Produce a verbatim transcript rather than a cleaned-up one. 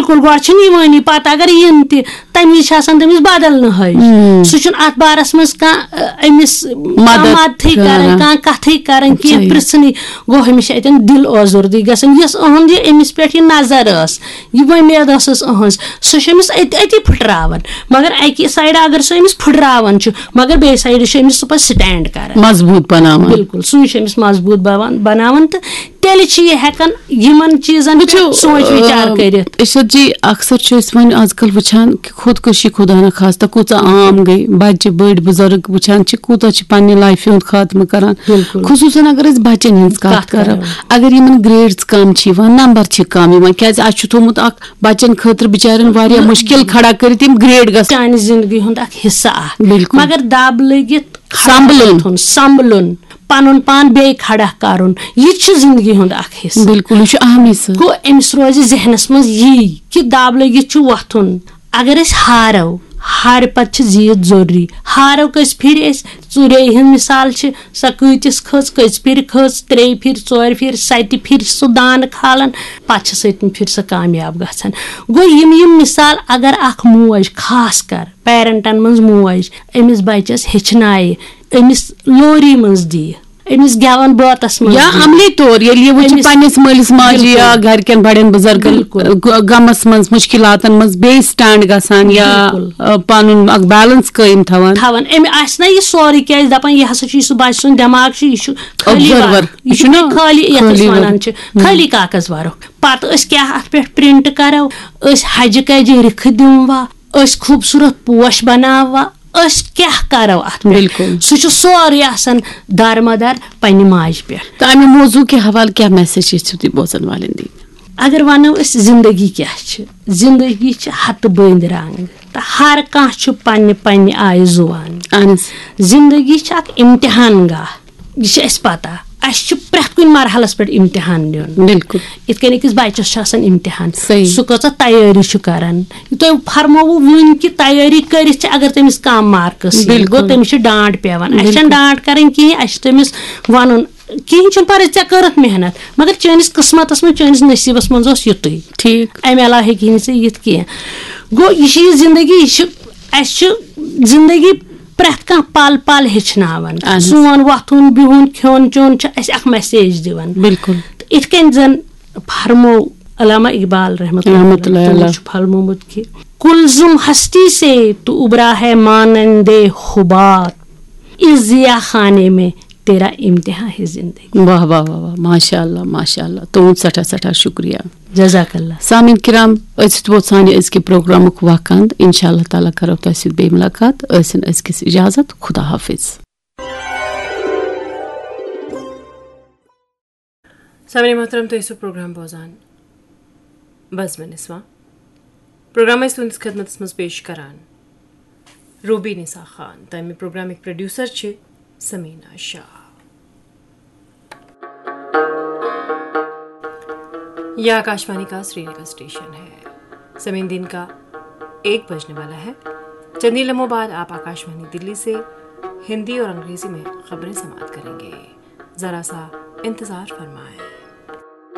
بالکل، گۄڈٕ چھِنہٕ یِوٲنی پَتہٕ، اگر یِن تہِ، تَمہِ وِزِ چھِ آسان تٔمِس بدل نہٕ ہٲوِتھ۔ سُہ چھُنہٕ اَتھ بارَس منٛز کانٛہہ، أ، أمِس کانٛہہ مدد مدتھٕے کران، کران۔ کانٛہہ کَتھٕے کران کینٛہہ، صحیح۔ پرٛژھنٕے۔ گوٚو، أمِس چھِ اَتٮ۪ن دِل آزوردٕے گژھان، یۄس أہٕنٛد یہِ أمِس پٮ۪ٹھ یہِ نظر ٲس، یہِ وۄمید ٲسٕس أہٕنٛز، سۄ چھِ أمِس أتۍ أتی پھٕٹراوان۔ مگر اَکہِ سایڈٕ اگر سۄ أمِس پھٕٹراوان چھُ، مگر بیٚیہِ سایڈٕ چھُ أمِس سُہ پَتہٕ سٹینڈ کران۔ مضبوٗط بناوان۔ بالکل، سُے چھُ أمِس مضبوٗط بناوان، بناوان تہٕ تیٚلہِ چھِ یہِ ہٮ۪کان یِمن چیٖزن وٕچھِو، پٮ۪ٹھ سونٛچ وِچار آ، کٔرِتھ۔ ارشد جی، اکثر چھِ أسۍ وۄنۍ آز کل وٕچھان کہِ خودکشی، خدا نخواستہ، کۭژاہ عام گٔے۔ بچہِ، بٔڑۍ، بُزرگ وٕچھان چھِ، کوٗتاہ چھِ پننہِ لایفہِ ہُنٛد خاتمہٕ کران۔ بالکل۔ خصوٗصاً اگر أسۍ بچن ہٕنٛز کتھ کتھ کرو، کرو۔ اگر یِمن گریڈز کم چھِ یِوان، نمبر چھِ کم یِوان، کیازِ اسہِ چھُ تھوٚومُت اکھ بچن خٲطرٕ بچارٮ۪ن واریاہ مُشکل کھڑا کٔرِتھ یِم گریڈ گژھن۔ چانہِ زندگی ہُنٛد اکھ حصہٕ اکھ۔ بالکل۔ مگر دب لٔگِتھ کھڑا سنبھلُن۔ وۄتھُن، سنبھلُن، پنُن پان بیٚیہِ کھڑا کرُن، یہِ تہِ چھُ زندگی ہُنٛد اکھ حصہٕ۔ بالکل، یہِ چھُ اہم حصہٕ۔ گوٚو، أمِس روزِ ذہنس منٛز یی کہِ دب لٔگِتھ چھُ وۄتھُن۔ اگر أسۍ ہارو، ہارِ پتہٕ چھِ زیٖٹھ ضروٗری۔ ہارو کٔژِ پھِرِ أسۍ، ژوٗرے ہٕنٛز مثال چھِ، سۄ کۭتِس کھٔژ، کٔژِ پھِرِ کھٔژ، ترٛیٚیہِ پھِرِ، ژورِ پھِرِ، ستہِ پھِرِ چھِ سُہ دانہٕ کھالان، پتہٕ چھِ سٔتمہِ پھِرِ سۄ کامیاب گژھان۔ گوٚو، یِم یِم مثال اگر اکھ موج، خاص کر پیرنٹن منٛز موج، أمِس بچس ہیٚچھنایہِ، أمِس لوری منٛز دِیہِ، أمِس گٮ۪وَن بٲتَس منٛز یا دِیہِ۔ عملی طور ییٚلہِ یہِ وٕچھِ أمِس پننِس مٲلِس ماجہِ یا بالکل۔ گرِکٮ۪ن بڑٮ۪ن بُزرگن، بالکل۔ گ-، غمس منٛز، مُشکِلاتن منٛز بیٚیہِ سٹینڈ گژھان یا، بالکل۔ آ، پنُن اکھ بیلنس قٲیِم تھاوان۔ تھاوان۔ أمۍ آسہِ نہ یہِ سورُے، کیازِ دپان یہِ ہسا چھُ، یہِ سُہ بچہٕ سُنٛد دٮ۪ماغ چھُ، یہِ چھُ خٲلی observer۔ وَنان۔ یہِ یہِ چھُ چھُ نہ خٲلی، یتھ أسۍ خٲلی وَنان ورق۔ چھِ، ہم۔ خٲلی کاغذ ورق۔ پتہٕ أسۍ کیٛاہ اتھ پٮ۪ٹھ پرنٹ کرو؟ أسۍ حجہِ کجہِ رِکھٕ دِموا؟ أسۍ خوٗبصوٗرت پوش بناووا؟ أسۍ کیٛاہ کرو اتھ پٮ۪ٹھ؟ بالکل۔ سُہ چھُ سورُے آسان دارمدار پننہِ ماجہِ پٮ۪ٹھ۔ تہٕ امہِ موضوع کہِ حوالہٕ کیٛاہ میسج یژھِو تُہۍ بوزن والٮ۪ن دِنۍ؟ اگر ونو أسۍ زندگی کیٛاہ چھِ، زندگی چھِ ہتہٕ بٔنٛدۍ رنگ تہٕ ہر کانٛہہ چھُ پننہِ پننہِ آیہِ زُوان۔ اہن حظ۔ زندگی چھِ اکھ امتحان گاہ، یہِ چھِ اَسہِ پَتہ۔ اَسہِ چھُ پرٛٮ۪تھ کُنہِ مرحلَس پٮ۪ٹھ اِمتِحان دیُن۔ بالکل۔ یِتھ کٔنۍ أکِس بَچَس چھُ آسان اِمتِحان، صحیح۔ سُہ کۭژاہ تیٲری چھُ کَران۔ تۄہہِ فرمووُ وٕنۍ کہِ تیٲری کٔرِتھ چھِ، اگر تٔمِس کَم مارکٕس یِن، بالکل۔ گوٚو تٔمِس چھِ ڈانٛٹ پٮ۪وان۔ اَسہِ چھَنہٕ بالکل۔ ڈانٛٹ کَرٕنۍ کِہیٖنۍ، اَسہِ چھِ تٔمِس وَنُن، کِہیٖنۍ چھُنہٕ پَرواے، ژےٚ کٔرٕتھ محنت، مگر چٲنِس قٕسمَتَس منٛز، چٲنِس نصیٖبَس منٛز اوس یُتُے۔ ٹھیٖک۔ اَمہِ علاوٕ ہیٚکہِ نہٕ ژےٚ یِتھ کینٛہہ۔ گوٚو، یہِ چھِ یہِ زندگی، یہِ چھِ، اَسہِ چھِ زندگی پرٛٮ۪تھ کانٛہہ پل پل ہیٚچھناوان۔ اہن حظ۔ سون وۄتھُن بِہُن کھیوٚن چیوٚن چھُ اَسہِ اکھ message دِوان۔ بالکل۔ تہٕ اِتھ کٔنۍ زن فرمو علامہ اقبال رحمتہ اللہ رحمتہ اللہ علیہ، تِمو علیہ۔ چھُ فرمومُت کہِ، کلزم ہستی سے تو ابرا ہے مانند حباب، اس ضیاء خانے میں تیرا امتحان ہے زندگی۔ واہ واہ واہ واہ، ماشاء اللہ ماشاء اللہ، تُہُنٛد سٮ۪ٹھاہ سٮ۪ٹھاہ شُکریہ۔ جزاک اللہ۔ سامعین کرام، أزیُک ووت سانہِ أزکہِ پروگرامُک وقت اند۔ انشاء اللہ تعالیٰ کرو تۄہہِ سۭتۍ بیٚیہِ ملاقات۔ ٲسِن أزکِس اجازت۔ خدا حافظ۔ سامعین محترم، تُہۍ ٲسِو پروگرام بوزان بزمِ نسواں۔ پروگرام ٲسۍ تُہنٛدِس خدمتس منٛز پیش کران روبی نسا خان۔ تہٕ امہِ پروگرامٕکۍ پروڈیوسر چھِ سمینا شاہ۔ یہ آکاشوانی کا سری نگر اسٹیشن ہے۔ سمے دن کا ایک بجنے والا ہے۔ چند ہی لمحوں بعد آپ آکاشوانی دلی سے ہندی اور انگریزی میں خبریں سماعت کریں گے۔ ذرا سا انتظار فرمائیں۔